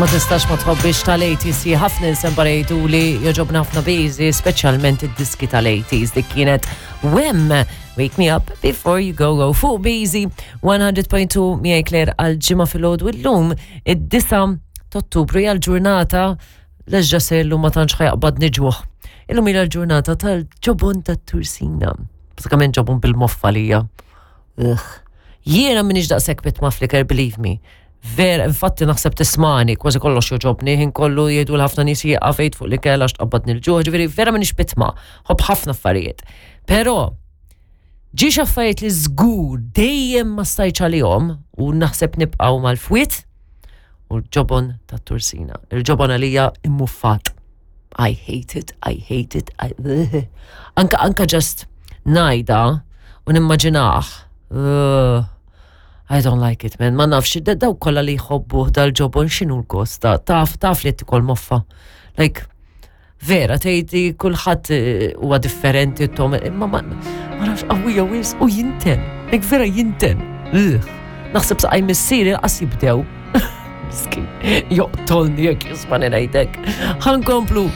Ma tistax ma tħobbix tal-80s, ħafna insembar jgħidu li joġobna ħafna biżi, speċjalment id-diski tal-80s dik kienet Wem Wake Me Up Before You Go Go fuq Biżi 100.2 miegħi Claire għal ġimgħa filgħodu illum id-9 t'Ottubru hija l-ġurnata Leġġa se illum ma tantx ħajaqbad niġuħ. Illum hija l-ġurnata tal-ġobon tat-tursina. Bażikament ġobon bil-moffa lija. Ugh. Jiena minix daqshekk bit ma flicker, believe me. Vera, infatti naħseb tismani, kważi kollox joġobni, ħin kollu jgħidu l-ħafna nies jieqaf fuq l-ikel għax tqabbadni l-ġuħ, ġifieri vera minix bitma, ħobb ħafna affarijiet. Però ġiex affarijiet li żgur dejjem ma stajtx għalihom u naħseb nibqgħu mal-fwiet u l-ġobon tat-tursina. Il-ġobon għalija immuffat. I hate it, I hate it, I... Anka, anka just najda u nimmaġinaħ. Uh, I don't like it, man. Ma nafx, daw kolla li jħobbu dal-ġobon xinu l-gost, taf, taf li tikol moffa. Like, Vera, tgħid kulħadd eh, huwa differenti tom, imma ma nafx qawwija wis u jinten. Like vera jinten. Naħseb saqaj missieri qas jibdew. Miskin, joqtolni jekk jisma' ngħidek. Ħankomplu.